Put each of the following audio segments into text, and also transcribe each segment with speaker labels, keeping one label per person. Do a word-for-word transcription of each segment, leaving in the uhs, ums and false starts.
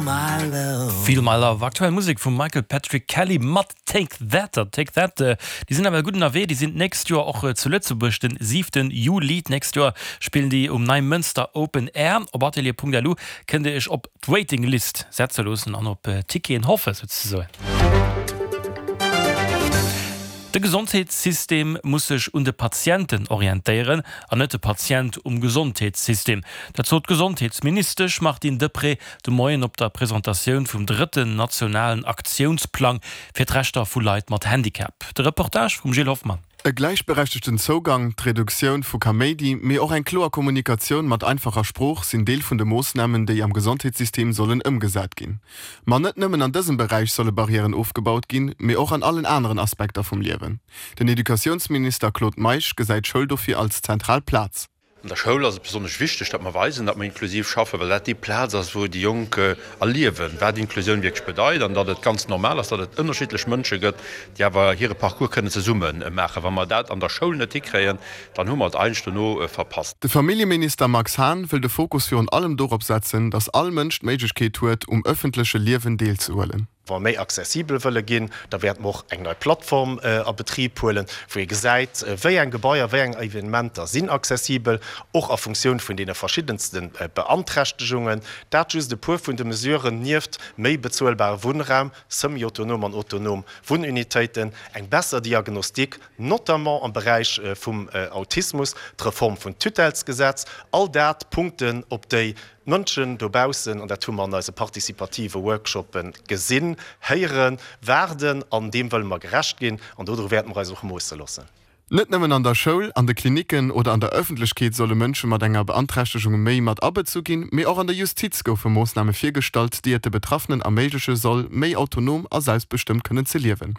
Speaker 1: my love. Feel My Love, aktuell Musek vum Michael Patrick Kelly mat Take That. An Take That, déi sinn nawell gutt ënnerwee, déi sinn d'nächst Joer och zu Lëtzebuerg, den siwten Juli d'nächst Joer spillen déi um Neimënster Open Air. Op atelier.lu kënnt Dir Iech op d'Waiting List setze loossen an op Ticketen hoffe souzesoen. De Gesondheetssystem muss sech un de Patienten orientéieren an net de Patient um Gesondheetssystem. Dat sot d'Gesondheetsministesch Martine Deprez de Moien op der Presentatioun vum drëtten nationalen Aktiounsplang fir d'Rechter vu Leit mat Handicap. De Reportage vum Gilles Hoffmann.
Speaker 2: E gläichberechtegten Zougang, d'Reduktioun vu Kaméidi, mee och eng kloer Kommunikatioun mat einfacher Sprooch sinn Deel vun de Moossnamen, déi am Gesondheetssystem sollen ëmgesat ginn. Ma net nëmmen an dësem Beräich solle Barrièren ofgebaut ginn, mee och an allen aneren Aspekter vum Liewen. Den Educatiounsminister Claude Meisch gesäit d'Schoul dofir als zentral Plaz.
Speaker 3: An der Schoul ass et besonnesch wichteg, datt mer weisen, datt mer inklusiv schaffen, well dat déi Plaz ass, wou déi Jonk erliewen, wat Inklusioun wierklech bedeit an datt et ganz normal ass, datt et ënnerschiddlech Mënsche gëtt, déi awer hire Parcours kënnen zesumme maachen. Wa mer dat an der Schoul net hikréien, dann hu mer et eigentlech dono verpasst.
Speaker 2: De Familljeminister Max Hahn wëll de Fokus virun allem dorop setzen, datt all Mënsch d'Méiglechkeet huet, um ëffentleche Liewen deelzehuelen.
Speaker 4: Wa mer méi accessibel wëlle ginn, da wäerte mer och eng nei Plattform a Betrib huelen, wou ee gesäit, wéi eng Gebaier, wéi eng Evenementer sinn accessibel, och a Funktioun vun deene verschiddenste Beanträchtegungen. Dat just e puer vun de Mesuren, nieft méi bezuelbare Wunnraum, semi-autonom an autonom Wunnunitéiten, eng besser Diagnostik, notamment am Beräich vum Autismus, d'Reform vun Tutellesgesetz, all dat Punkten, op déi D'Mënschen dobaussen, an dat hu mer an eise participative Workshoppe gesinn, héieren, waarden an deem wëlle mer gerecht ginn an dodru wäerte mer eis och moosse loossen.
Speaker 2: Net nëmmen an der Schoul, an de Klinicken oder an der Ëffentlechkeet solle Mënsche mat enger Beanträchtegung méi mat abezu ginn, mee och an der Justiz goufe Moossname virgestallt, déi et de Betraffenen erméigleche soll, méi autonom a selbstbestëmmt kënnen ze liewen.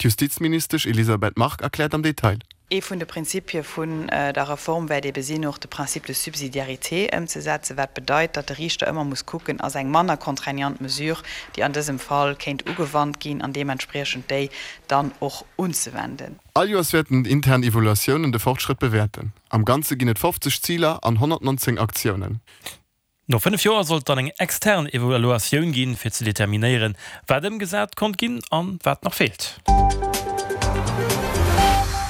Speaker 2: D'Justizministesch Elisabeth Margue erkläert am Detail.
Speaker 5: Ee vun de Prinzipie vun der Reform wäert ebe sinn, och de Principe de subsidiarité ëmzesetzen, wat bedeit, datt de Riichter ëmmer muss kucken, ass eng manner contraignant Mesure, déi an dësem Fall kéint ugewannt ginn, an deementspriechend déi dann och unzewenden.
Speaker 2: All Joers wäerten intern Evaluatiounen de Fortschrëtt bewäerten. Am Ganze ginn et fofzeg Ziler an honnertnonzéng Aktiounen.
Speaker 1: No fënnef Joer soll et dann eng extern Evaluatioun ginn, fir ze determinéieren, wat ëmgesat konnt ginn an wat nach feelt.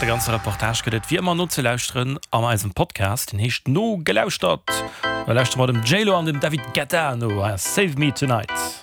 Speaker 1: De ganze Reportage gëtt et wéi ëmmer nozelauschteren an eisem Podcast, deen heescht Nogelauschtert. Da lauschtere mer dem J-Lo an dem David Guetta no, Save Me Tonight.